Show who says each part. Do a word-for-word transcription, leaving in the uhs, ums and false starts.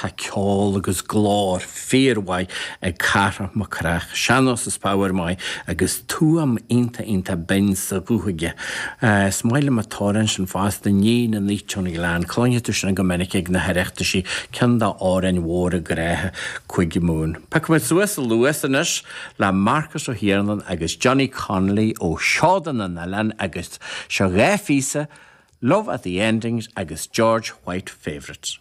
Speaker 1: tá ceol agus glór fíormhaith ag Cárthach Mac Cárthaigh, sean-nós is power maith agus tuaim iontach iontach binn sa ghuth aige. Uh, is maith liom an t-amhrán sin fosta Ní na nít ón Ghleann, Cluinfidh tú sin go minic ag na hOireachtaisí ceann d'amhráin mhóra ghrá Chúige Mumhan. Piocfaimid suas a luas anois le Marcus Ó hIarnáin agus Johnny Connolly ó Seoda na nOileán agus seo dhá phíosa Love at the Endings agus George White Favourites.